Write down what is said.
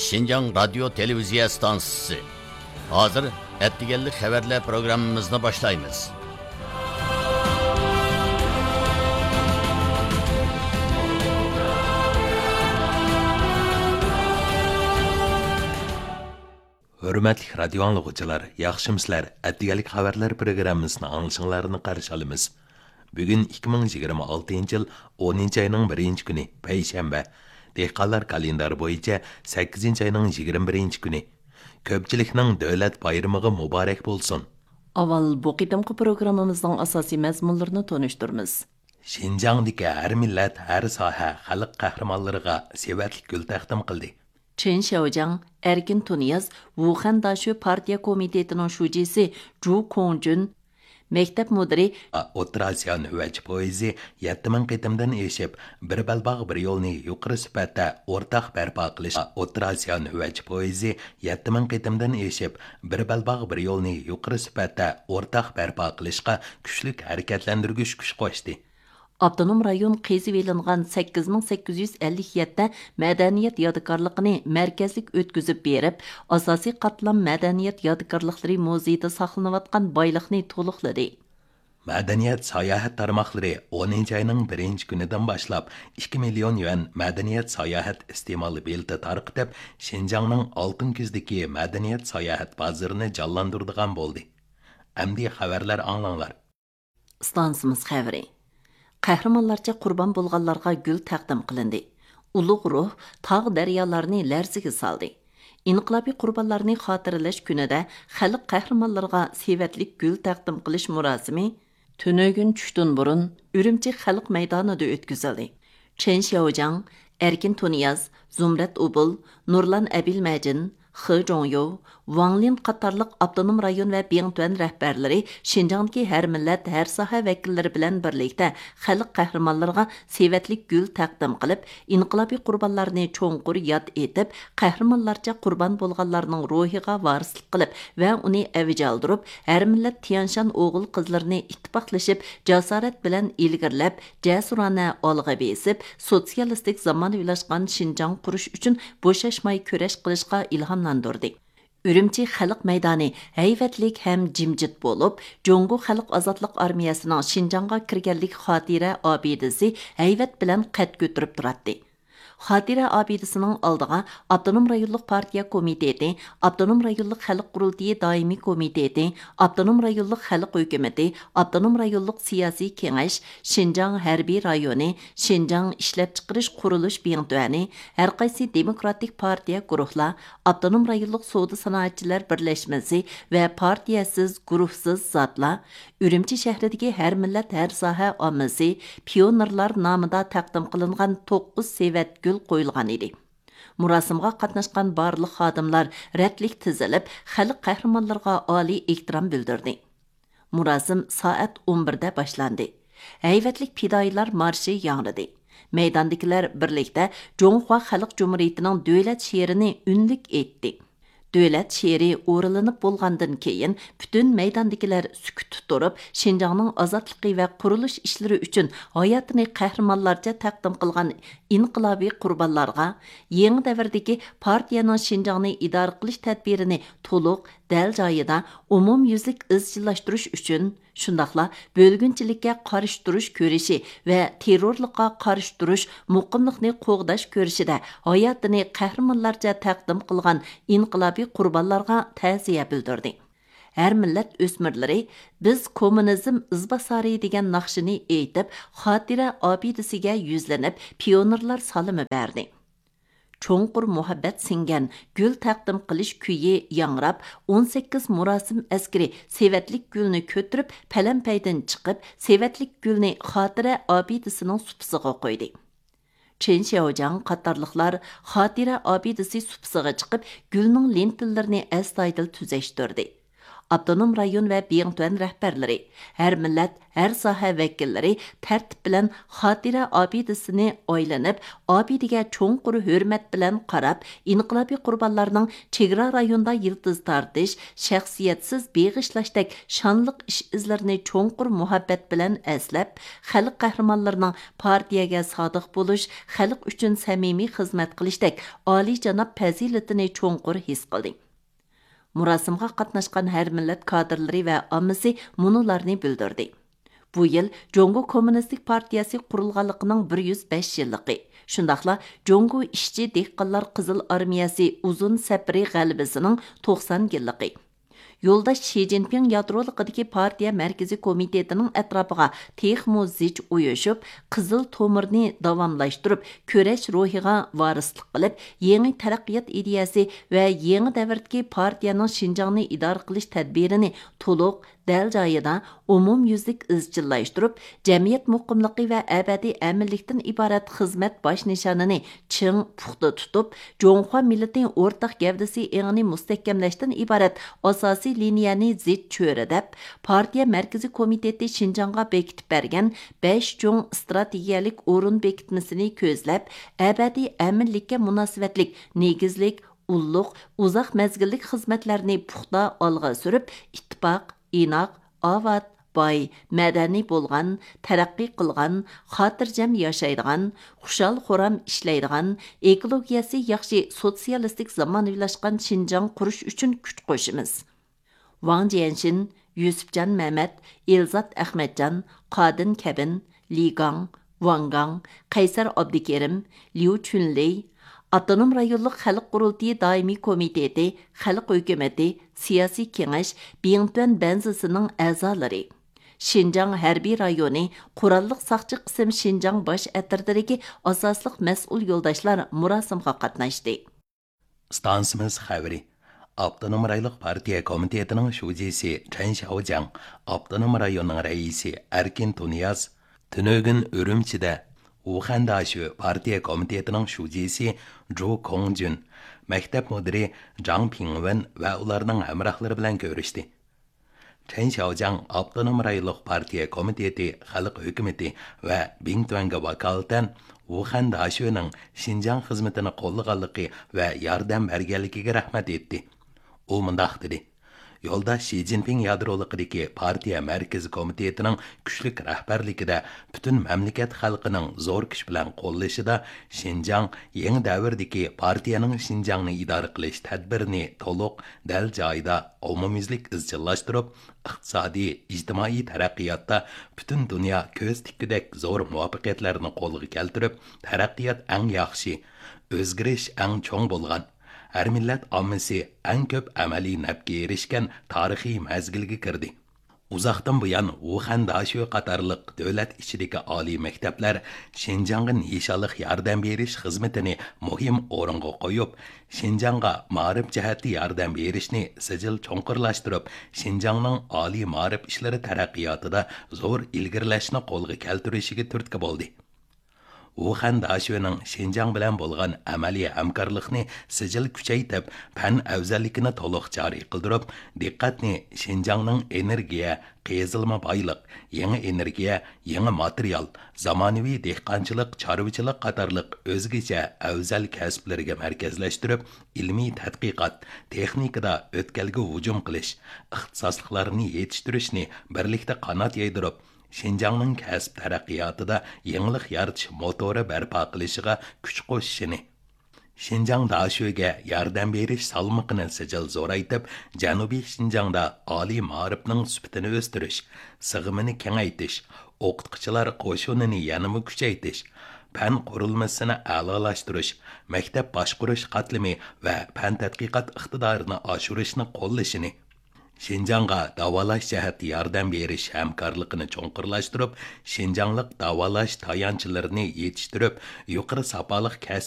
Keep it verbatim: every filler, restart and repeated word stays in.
شىنجاڭ رادىيو تېلېۋىزىيە ئىستانسىسى. ھازىر ئەتىگەنلىك خەۋەرلەر پروگراممىمىزنى باشلايمىز. ھۆرمەتلىك رادىيو ئاڭلىغۇچىلار، ياخشىمۇسىلەر؟ ئەتىگەنلىك خەۋەرلەر پروگراممىسىنى ئاڭلىشىڭلارنى قارشى ئالىمىز. بۈگۈن ئىككى مىڭ يىگىرمە ئالتىنچى يىل ئونىنچى ئاينىڭ بىرىنچى كۈنى، پەيشەنبە. دېھقانلار كالېندارى بويىچە سەككىزىنچى ئاينىڭ يىگىرمە بىرىنچى كۈنى. كۆپچىلىكنىڭ دۆلەت بايرىمىغا مۇبارەك بولسۇن! ئاۋۋال بۇ قېتىمقى پروگراممىمىزنىڭ ئاساسىي مەزمۇنلىرىنى تونۇشتۇرىمىز. شىنجاڭدىكى ھەر مىللەت، ھەر ساھە خەلق قەھرىمانلىرىغا سېۋەتلىك گۈل تەقدىم قىلدى. چېن شياۋجياڭ، ئەركىن تۇنىياز، ۋۇخەن داشۆ پارتىيە كومىتېتىنىڭ شۇجىسى جۇ كوڭجۈن، مەكتەپ مۇدىرى، ئوتتۇرا ئاسىيا نۆۋەتچى پويىزى يەتتە مىڭ قېتىمدىن ئېشىپ، بىر بەلباغ، بىر يولنى يۇقىرى سۈپەتتە ئورتاق بەرپا قىلىش، ئوتتۇرا ئاسىيا نۆۋەتچى پويىزى يەتتە مىڭ قېتىمدىن ئېشىپ، بىر بەلباغ، بىر يولنى يۇقىرى سۈپەتتە ئورتاق بەرپا قىلىشقا كۈچلۈك ھەرىكەتلەندۈرگۈچ كۈچ قوشتى. ئاپتونوم رايون قېزىۋېلىنغان سەككىز مىڭ سەككىز يۈز ئەللىك يەتتە مەدەنىيەت يادىكارلىقىنى مەركەزلىك ئۆتكۈزۈپ بېرىپ، ئاساسىي قاتلام مەدەنىيەت يادىكارلىقلىرى مۇزېيىدا ساقلىنىۋاتقان بايلىقنى تولۇقلىدى. مەدەنىيەت ساياھەت تارماقلىرى ئونىنچى ئاينىڭ بىرىنچى كۈنىدىن باشلاپ ئىككى مىليون يۈەن مەدەنىيەت ساياھەت ئىستېمال بېلىتى تارقىتىپ، شىنجاڭنىڭ ئالتۇن كۈزدىكى مەدەنىيەت ساياھەت بازىرىنى جانلاندۇرىدىغان بولدى. ئەمدى خەۋەرلەر ئاڭلاڭلار. ئىستانسىمىز خەۋىرى. قەھرىمانلارچە قۇربان بولغانلارغا گۈل تەقدىم قىلىندى. ئۇلۇغ روھ تاغ-دەريالارنى لەرزىگە سالدى. ئىنقىلابىي قۇربانلارنى خاتىرىلەش كۈنىدە خەلق قەھرىمانلىرىغا سېۋەتلىك گۈل تەقدىم قىلىش مۇراسىمى تۈنۈگۈن چۈشتىن بۇرۇن ئۈرۈمچى خەلق مەيدانىدا ئۆتكۈزۈلدى. چېن شياۋجياڭ، ئەركىن تۇنىياز، زۇمرەت ئوبۇل، نۇرلان ئەبىلمەجىن، خې جوڭيو، ۋاڭ لىن قاتارلىق ئاپتونوم رايون ۋە بىڭتۈەن رەھبەرلىرى شىنجاڭدىكى ھەر مىللەت، ھەر ساھە ۋەكىللىرى بىلەن بىرلىكتە خەلق قەھرىمانلىرىغا سېۋەتلىك گۈل تەقدىم قىلىپ، ئىنقىلابىي قۇربانلارنى چوڭقۇر ياد ئېتىپ، قەھرىمانلارچە قۇربان بولغانلارنىڭ روھىغا ۋارىسلىق قىلىپ ۋە ئۇنى ئەۋج ئالدۇرۇپ، ھەر مىللەت تيەنشان ئوغۇل-قىزلىرىنى ئىتتىپاقلىشىپ، جاسارەت بىلەن ئىلگىرىلەپ، جەسۇرانە ئالغا بېسىپ، سوتسىيالىستىك زامانىۋىلاشقان شىنجاڭ قۇرۇش ئۈچۈن بوشاشماي كۈرەش قىلىشقا ئىلھاملاندۇردى. ئۈرۈمچى خەلق مەيدانى ھەيۋەتلىك ھەم جىمجىت بولۇپ، جۇڭگو خەلق ئازادلىق ئارمىيەسىنىڭ شىنجاڭغا كىرگەنلىك خاتىرە ئابىدىسى ھەيۋەت بىلەن قەد كۆتۈرۈپ تۇراتتى. خاتىرە ئابىدىسىنىڭ ئالدىغا ئاپتونوم رايونلۇق پارتىيە كومىتېتى، ئاپتونوم رايونلۇق خەلق قۇرۇلتىيى دائىمىي كومىتېتى، ئاپتونوم رايونلۇق خەلق ھۆكۈمىتى، ئاپتونوم رايونلۇق سىياسىي كېڭەش، شىنجاڭ ھەربىي رايونى، شىنجاڭ ئىشلەپچىقىرىش قۇرۇلۇش بىڭتۈەنى، ھەرقايسى دېموكراتىك پارتىيە گۇرۇھلار، ئاپتونوم رايونلۇق سودا سانائەتچىلەر بىرلەشمىسى ۋە پارتىيەسىز، گۇرۇھسىز زاتلار، ئۈرۈمچى شەھىرىدىكى ھەر مىللەت، ھەر ساھە ئاممىسى، پىيونېرلار نامىدا تەقدىم قىلىنغان توققۇز سېۋەت گۈل قويۇلغان ئىدى. مۇراسىمغا قاتناشقان بارلىق خادىملار رەتلىك تىزىلىپ، خەلق قەھرىمانلىرىغا ئالىي ئېھتىرام بىلدۈردى. مۇراسىم سائەت ئون بىردە باشلاندى. ھەيۋەتلىك پىدائىيلار مارشى ياڭرىدى. مەيداندىكىلەر بىرلىكتە جۇڭخۇا خەلق جۇمھۇرىيىتىنىڭ دۆلەت شېئىرىنى ئۈنلۈك ئېيتتى. دۆلەت شېئىرى ئورۇنلىنىپ بولغاندىن كېيىن، پۈتۈن مەيداندىكىلەر سۈكۈتتە تۇرۇپ، شىنجاڭنىڭ ئازادلىقى ۋە قۇرۇلۇش ئىشلىرى ئۈچۈن ھاياتىنى قەھرىمانلارچە تەقدىم قىلغان ئىنقىلابىي قۇربانلارغا، يېڭى دەۋردىكى پارتىيەنىڭ شىنجاڭنى ئىدارە قىلىش تەدبىرىنى تولۇق، دەل جايىدا، ئومۇميۈزلۈك ئىزچىللاشتۇرۇش ئۈچۈن، شۇنداقلا بۆلگۈنچىلىككە قارشى تۇرۇش كۈرىشى ۋە تېررورلۇققا قارشى تۇرۇش، مۇقىملىقنى قوغداش كۈرىشىدە ھاياتىنى قەھرىمانلارچە تەقدىم قىلغان ئىنقىلابىي قۇربانلارغا تەزىيە بىلدۈردى. ھەر مىللەت ئۆسمۈرلىرى بىز كوممۇنىزم ئىزباسارى دېگەن ناخشىنى ئېيتىپ، خاتىرە ئابىدىسىگە يۈزلىنىپ، پىيونېرلار سالىمى بەردى. چوڭقۇر مۇھەببەت سىڭگەن گۈل تەقدىم قىلىش كۈيى ياڭراپ، ئون سەككىز مۇراسىم ئەسكىرى سېۋەتلىك گۈلنى كۆتۈرۈپ، پەلەمپەيدىن چىقىپ، سېۋەتلىك گۈلنى خاتىرە ئابىدىسىنىڭ سۇپىسىغا قويدى. چېن شياۋجياڭ قاتارلىقلار خاتىرە ئابىدىسى سۇپىسىغا چىقىپ، گۈلنىڭ لېنتىلىرىنى ئەستايىدىل تۈزەشتۈردى. ئاپتونوم رايون ۋە بىڭتۈەن رەھبەرلىرى، ھەر مىللەت، ھەر ساھە ۋەكىللىرى تەرتىپ بىلەن خاتىرە ئابىدىسىنى ئايلىنىپ، ئابىدىگە چوڭقۇر ھۆرمەت بىلەن قاراپ، ئىنقىلابىي قۇربانلارنىڭ چېگرا رايوندا يىلتىز تارتىش، شەخسىيەتسىز بېغىشلاشتەك شانلىق ئىش-ئىزلىرىنى چوڭقۇر مۇھەببەت بىلەن ئەسلەپ، خەلق قەھرىمانلىرىنىڭ پارتىيەگە سادىق بولۇش، خەلق ئۈچۈن سەمىمىي خىزمەت قىلىشتەك ئالىيجاناب پەزىلىتىنى چوڭقۇر ھېس قىلدى. مۇراسىمغا قاتناشقان ھەر مىللەت كادىرلىرى ۋە ئاممىسى مۇنۇلارنى بىلدۈردى: بۇ يىل جۇڭگو كوممۇنىستىك پارتىيەسى قۇرۇلغانلىقىنىڭ بىر يۈز بەش يىللىقى، شۇنداقلا جۇڭگو ئىشچى دېھقانلار قىزىل ئارمىيەسى ئۇزۇن سەپىرى غەلىبىسىنىڭ توقسان يىللىقى، يولداش شى جىنپىڭ يادرولۇقىدىكى پارتىيە مەركىزىي كومىتېتىنىڭ ئەتراپىغا تېخىمۇ زىچ ئۇيۇشۇپ، قىزىل تومۇرنى داۋاملاشتۇرۇپ، كۈرەش روھىغا ۋارىسلىق قىلىپ، يېڭى تەرەققىيات ئىدىيەسى ۋە يېڭى دەۋردىكى پارتىيەنىڭ شىنجاڭنى ئىدارە قىلىش تەدبىرىنى تولۇق، دەل جايىدا، ئومۇميۈزلۈك ئىزچىللاشتۇرۇپ، جەمئىيەت مۇقىملىقى ۋە ئەبەدىي ئەمىنلىكتىن ئىبارەت خىزمەت باش نىشانىنى چىڭ، پۇختا تۇتۇپ، جۇڭخۇا مىللىتى ئورتاق گەۋدىسى ئېڭىنى مۇستەھكەملەشتىن ئىبارەت ئاساسىي لىنىيەنى زىچ چۆرىدەپ، پارتىيە مەركىزىي كومىتېتى شىنجاڭغا بېكىتىپ بەرگەن بەش چوڭ ئىستراتېگىيەلىك ئورۇن بېكىتمىسىنى كۆزلەپ، ئەبەدىي ئەمىنلىككە مۇناسىۋەتلىك نېگىزلىك، ئۇللۇق، ئۇزاق مەزگىللىك خىزمەتلەرنى پۇختا ئالغا سۈرۈپ، ئىتتىپاق، ئىناق، ئاۋات، باي، مەدەنىي بولغان، تەرەققىي قىلغان، خاتىرجەم ياشايدىغان، خۇشال-خۇرام ئىشلەيدىغان، ئېكولوگىيەسى ياخشى سوتسىيالىستىك زامانىۋىلاشقان شىنجاڭ قۇرۇش ئۈچۈن كۈچ قوشىمىز. ۋاڭ جيەنشىن، يۈسۈپجان مەمەت، ئېلزات ئەخمەتجان، قادىن كەبىن، لى گاڭ، ۋاڭ گاڭ، قەيسەر ئابدۇكېرىم، ليۇ چۈنلېي، ئاپتونوم رايونلۇق خەلق قۇرۇلتىيى دائىمىي كومىتېتى، خەلق ھۆكۈمىتى، سىياسىي كېڭەش، بىڭتۈەن بەنزىسىنىڭ ئەزالىرى، شىنجاڭ ھەربىي رايونى قوراللىق ساقچى قىسىم شىنجاڭ باش ئەترىتىدىكى ئاساسلىق مەسئۇل يولداشلار مۇراسىمغا قاتناشتى. ئىستانسىمىز خەۋىرى. ئاپتونوم رايونلۇق پارتىيە كومىتېتىنىڭ شۇجىسى چەن شياۋجياڭ، ئاپتونوم رايوننىڭ رەئىسى ئەركىن تۇنىياز، تۈنۈگۈن ئۈرۈمچىدە ۋۇخەن داشۆ پارتىيە كومىتېتىنىڭ شۇجىسى جۇ كوڭجۈن، مەكتەپ مۇدىرى جاڭ پىڭۋېن ۋە ئۇلارنىڭ ھەمراھلىرى بىلەن كۆرۈشتى. چەن شياۋجياڭ ئاپتونوم رايونلۇق پارتىيە كومىتېتى خەلق ھۆكۈمىتى ۋە بىڭتۈەنگە ۋاكالىتەن ۋۇخەن داشۆنىڭ شىنجاڭ خىزمىتىنى قوللىغانلىقى ۋە ياردەم بەرگەنلىكىگە رەھمەت ئېيتتى. ئۇ مۇنداق دېدى: يولداش شى جىنپىڭ يادرولۇقىدىكى پارتىيە مەركىزىي كومىتېتىنىڭ كۈچلۈك رەھبەرلىكىدە پۈتۈن مەملىكەت خەلقىنىڭ زور كۈچ بىلەن قوللىشىدا شىنجاڭ يېڭى دەۋردىكى پارتىيەنىڭ شىنجاڭنى ئىدارە قىلىش تەدبىرىنى تولۇق، دەل جايىدا، ئومۇميۈزلۈك ئىزچىللاشتۇرۇپ، ئىقتىسادىي، ئىجتىمائىي تەرەققىياتتا پۈتۈن دۇنيا كۆز تىككۈدەك زور مۇۋەپپەقىيەتلەرنى قولغا كەلتۈرۈپ، تەرەققىيات ئەڭ ياخشى، ئۆزگىرىش ئەڭ چوڭ بولغان، ھەر مىللەت ئاممىسى ئەڭ كۆپ ئەمەلىي نەپكە ئېرىشكەن تارىخىي مەزگىلگە كىردى. ئۇزاقتىن بۇيان، ۋۇخەن داشۆ قاتارلىق دۆلەت ئىچىدىكى ئالىي مەكتەپلەر شىنجاڭغا نىشانلىق ياردەم بېرىش خىزمىتىنى مۇھىم ئورۇنغا قويۇپ، شىنجاڭغا مائارىپ جەھەتتە ياردەم بېرىشنى سىجىل چوڭقۇرلاشتۇرۇپ، شىنجاڭنىڭ ئالىي مائارىپ ئىشلىرى تەرەققىياتىدا زور ئىلگىرىلەشنى قولغا كەلتۈرۈشىگە تۈرتكە بولدى. ۋۇخەن داشۆنىڭ شىنجاڭ بىلەن بولغان ئەمەلىي ھەمكارلىقنى سىجىل كۈچەيتىپ، پەن ئەۋزەللىكىنى تولۇق جارى قىلدۇرۇپ، دىققەتنى شىنجاڭنىڭ ئېنېرگىيە، قېزىلما بايلىق، يېڭى ئېنېرگىيە، يېڭى ماتېرىيال، زامانىۋى دېھقانچىلىق، چارۋىچىلىق قاتارلىق ئۆزگىچە ئەۋزەل كەسىپلىرىگە مەركەزلەشتۈرۈپ، ئىلمىي تەتقىقات، تېخنىكىدا ئۆتكەلگە ھۇجۇم قىلىش، ئىختىساسلىقلارنى يېتىشتۈرۈشنى بىرلىكتە قانات يايدۇرۇپ، شىنجاڭنىڭ كەسىپ تەرەققىياتىدا يېڭىلىق يارىتىش موتورى بەرپا قىلىشىغا كۈچ قوشۇشىنى، شىنجاڭ داشۆگە ياردەم بېرىش سالمىقىنى سىجىل زورايتىپ، جەنۇبىي شىنجاڭدا ئالىي مائارىپنىڭ سۈپىتىنى ئۆستۈرۈش، سىغىمىنى كېڭەيتىش، ئوقۇتقۇچىلار قوشۇنىنى يەنىمۇ كۈچەيتىش، پەن قۇرۇلمىسىنى ئەلالاشتۇرۇش، مەكتەپ باشقۇرۇش قاتلىمى ۋە پەن تەتقىقات ئىقتىدارىنى ئاشۇرۇشنى قوللىشىنى، شىنجاڭغا داۋالاش جەھەتتە ياردەم بېرىش ھەمكارلىقىنى چوڭقۇرلاشتۇرۇپ، شىنجاڭلىق داۋالاش تايانچلىرىنى يېتىشتۈرۈپ، يۇقىرى ساپالىق كەسىپ